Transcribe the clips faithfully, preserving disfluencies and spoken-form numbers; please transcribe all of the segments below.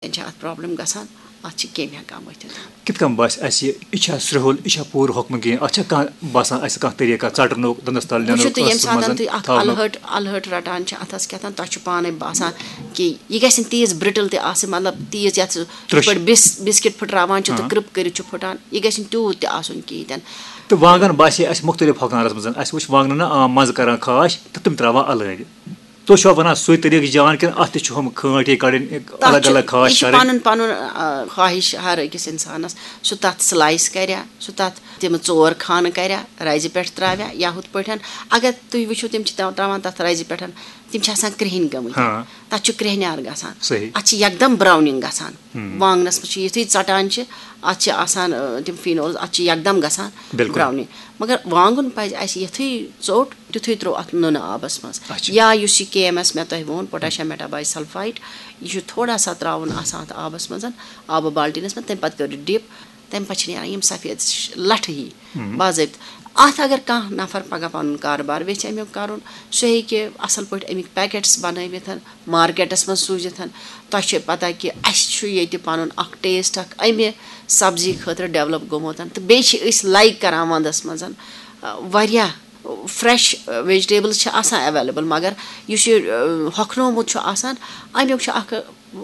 چھِ اَتھ پرابلم گژھان، اَتھ چھِ کیٚمۍ ہٮ۪کان ؤتھِتھ۔ کِتھ کٔنۍ باسہِ اَسہِ، یہِ چھا سرٛوہُل، یہِ چھا پوٗرٕ حۄکمہٕ کِنۍ، اَتھ چھا کانٛہہ باسان اَسہِ کانٛہہ طریٖقہ ژَٹنُک، دَنٛدَس تَل نِنُک، وٕچھِو تُہۍ، ییٚمہِ ٲسَس منٛز ساتَن تُہۍ اَکھ تھاونُک؟ الہٲٹ الہٲٹ رَٹان چھِ اَتھَس کیٛاہ تام، تۄہہِ چھُ پانَے باسان کہِ یہِ گژھِ نہٕ تیٖژ برٛٹٕل تہِ آسٕنۍ، مطلب تیٖژ یَتھ یِتھ ترٛوٚش۔ پٲٹھۍ بِس بِسکِٹ پھٕٹراوان چھِ تہٕ ہاں۔ کرٛپ کٔرِتھ چھُ پھٕٹان، یہِ گژھِ نہٕ تیوٗت تہِ آسُن کِہیٖنۍ تہِ نہٕ۔ تہٕ وانٛگَن باسے اَسہِ مُختٔلِف حۄکھنارَس منٛز، اَسہِ وٕچھ وانٛگنَن نہ عام مَزٕ کَران خاش تہٕ تِم ترٛاوان اَلہٕ ہٲرِ۔ تُہۍ چھِوا وَنان سُے طریٖقہٕ جان کِنہٕ اَتھ تہِ چھُ ہُم کھٲنٛٹۍ ہِوۍ کَڑٕنۍ، تَتھ الگ چھُ، الگ یہِ خاش چھُ کَڑٕنۍ؟ پَنُن پَنُن آ، خواہِش ہر أکِس اِنسانَس۔ سُہ تَتھ سلایس کَریا، سُہ تَتھ تِم ژور خانہٕ کَریا، رَزِ پٮ۪ٹھ ترٛاویا یا ہُتھ پٲٹھۍ۔ اگر تُہۍ وٕچھِو، تِم چھِ ترٛاو- ترٛاوان تَتھ رَزِ پٮ۪ٹھ، تِم چھِ آسان کرٛہِنۍ گٔمٕتۍ۔ ہاں۔ تَتھ چھُ کرٛہنیار گژھان۔ صحیح۔ اَتھ چھِ یکدم براوننگ گژھان۔ وانٛگنَس منٛز چھُ یُتھُے ژَٹان چھِ، اَتھ چھِ آسان آ، تِم فینولز، اَتھ چھِ یکدم گژھان بِلکُل۔ براوننگ۔ مگر وانٛگُن پَزِ اَسہِ یُتھُے ژوٚٹ تیُتھُے ترٛوو اَتھ نُنہٕ آبَس منٛز۔ اچھا۔ یا یُس یہِ کے ایم ایس مےٚ تۄہہِ ووٚن، پوٹیشیم میٹاباے سلفایٹ، یہِ چھُ تھوڑا سا ترٛاوُن آسان اَتھ آبَس منٛز، آبہٕ بالٹیٖنَس منٛز، تَمہِ پَتہٕ کٔرِو ڈِپ، تَمہِ پَتہٕ چھِ نیران یِم سفید ش- لَٹھٕ ہی باضٲبطہٕ۔ اَتھ اگر کانٛہہ نفر پَگاہ پَنُن کارٕبار ویٚژھِ اَمیُک کَرُن، سُہ ہیٚکہِ اَصٕل پٲٹھۍ اَمِکۍ پیکٹس بَنٲوِتھ، مارکیٹَس منٛز سوٗزِتھ۔ تۄہہِ چھِ پَتہ کہِ اَسہِ چھُ ییٚتہِ پَنُن اَکھ ٹیسٹ اَکھ اَمہِ سبزی خٲطرٕ ڈیولپ گوٚمُت، تہٕ بیٚیہِ چھِ أسۍ لایک کَران وَندَس منٛز واریاہ فریش ویجیٹیبلز چھِ آسان اویلیبل، مگر یُس یہِ آ، ہۄکھنومُت چھُ آسان، اَمیُک چھُ اکھ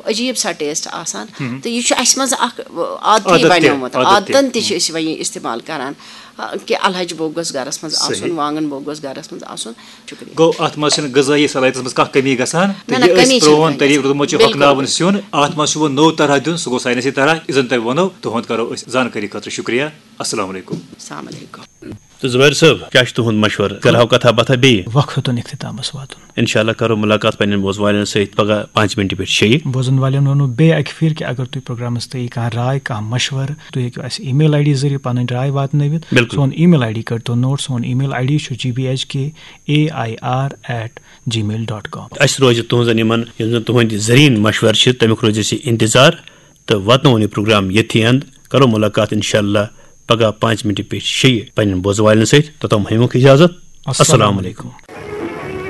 عجیب سا ٹیسٹ آسان۔ تہٕ یہِ چھُ اَسہِ منٛز اکھ آ، عادتھٕے عادت تہِ، بنیومُت۔ عادت تہِ۔ عادتن تہِ چھِ أسۍ وۄنۍ یہِ استعمال کران، آ، کہِ الہج بوٚگ گوٚژھ گرس منٛز آسُن، صحیح۔ وانگن بوٚگ گوٚژھ گرس منٛز آسُن۔ شُکریہ۔ گوٚو، اَتھ منٛز چھِنہٕ غذٲیی صلاحیتس منٛز کانٛہہ کٔمی گژھان، نہ، تہٕ نہ، یہِ أسۍ کٔمی چھِنہٕ پرٛون کَران۔ طریٖقہٕ روٗدمُت چھُ بِلکُل۔ ہۄکھناوُن سیُن، اَتھ منٛز چھُ وۄنۍ نوٚو طرح دیُن، سُہ گوٚو ساینسی طرح، یہِ زَن تۄہہِ ووٚنوٕ، تُہُنٛد کَرو أسۍ زانکٲری خٲطرٕ شُکریہ۔ السلام علیکم۔ السلام علیکم۔ تہٕ زبیر صٲب، کیٛاہ چھُ تُہُنٛد مشورٕ؟ کرہاو کتھا باتھا بیٚیہِ؟ وقت ہیوٚتُن اختتامس واتُن۔ انشاءاللہ کرو ملاقات پننٮ۪ن بوزن والٮ۪ن سۭتۍ پگاہ پانٛژِ مِنٹہِ پٮ۪ٹھ شیٚیہِ۔ بوزن والٮ۪ن ونو بیٚیہِ اکہِ پھِرِ کہِ اگر تُہۍ پروگرامس تہٕ یہِ کانٛہہ راے، کانٛہہ مشورٕ، تُہۍ ہیٚکِو اسہِ ای میل آی ڈی ذٔریعہٕ پنٕنۍ راے واتنٲوِتھ۔ بِلکُل۔ سون ای میل آی ڈی کٔرۍتو نوٹ، سون ای میل آی ڈی چھُ G B H K A I R at Gmail dot com. اسہِ روزِ تُہنٛزن یِمن، یِم زن تُہنٛدِ زرین مشورٕ چھِ، تمیُک روزِ اسہِ انتظار۔ تہٕ واتناوون یہِ پروگرام ییٚتھی اند۔ کرو ملاقات انشاءاللہ پگاہ پانٛژِ مِنٹہِ پٮ۪ٹھ شیٚیہِ پننٮ۪ن بوزن والٮ۪ن سۭتۍ۔ توٚتام ہیٚیِوُکھ اجازت۔ السلام علیکم۔